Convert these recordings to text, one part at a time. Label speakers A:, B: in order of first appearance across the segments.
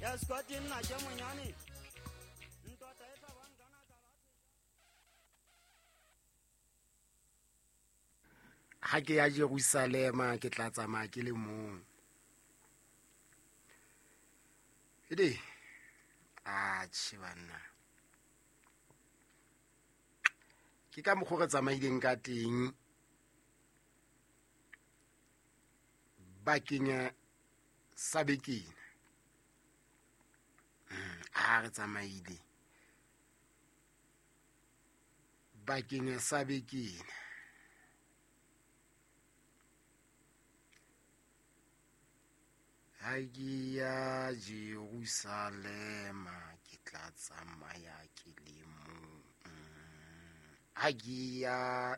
A: Ya Scott nna ke monyane. Ntota e tla bang kana ka
B: Ha ke ya Jerusalema ke tla tsamaya ke le mong. Ede atjhe banna. Ke ka mokgwa re tsamaileng ka teng bakeng sa bekena. Ha re tsamaile bakeng sa bekena. Ha ke ya Jerusalema ke tla tsamaya ke le mong. Ha ke ya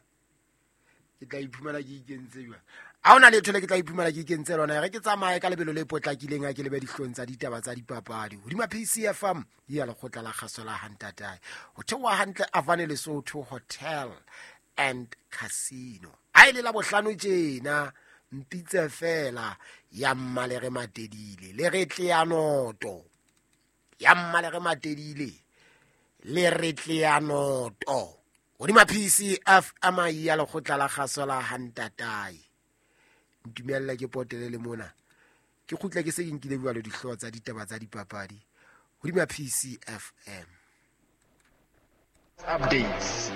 B: ke tla iphumana ke ikentse jwang? Ha hona letho le ke tla iphumana ke ikentse lona. E re ke tsamaye ka lebelo le potlakileng ha ke lebe dihlong tsa ditaba tsa dipapadi. Hodima PCFM ya lekgotla la kgaso la Hantatae. Ho theoha hantle Avane Lesotho Hotel and Casino. Ha e le la bohlano tjena mpitse fela ya mmalere matedile le re tlea noto. Ya mmalere matedile le re tlea noto. Hodima PCFM ya lekgotla la kgaso la Hantatae. Ntumella ke potele le mona. Ke kgutla ke se ke nkile jwalo dihlooho tsa ditaba tsa dipapadi. Hodima PCFM.
C: Updates.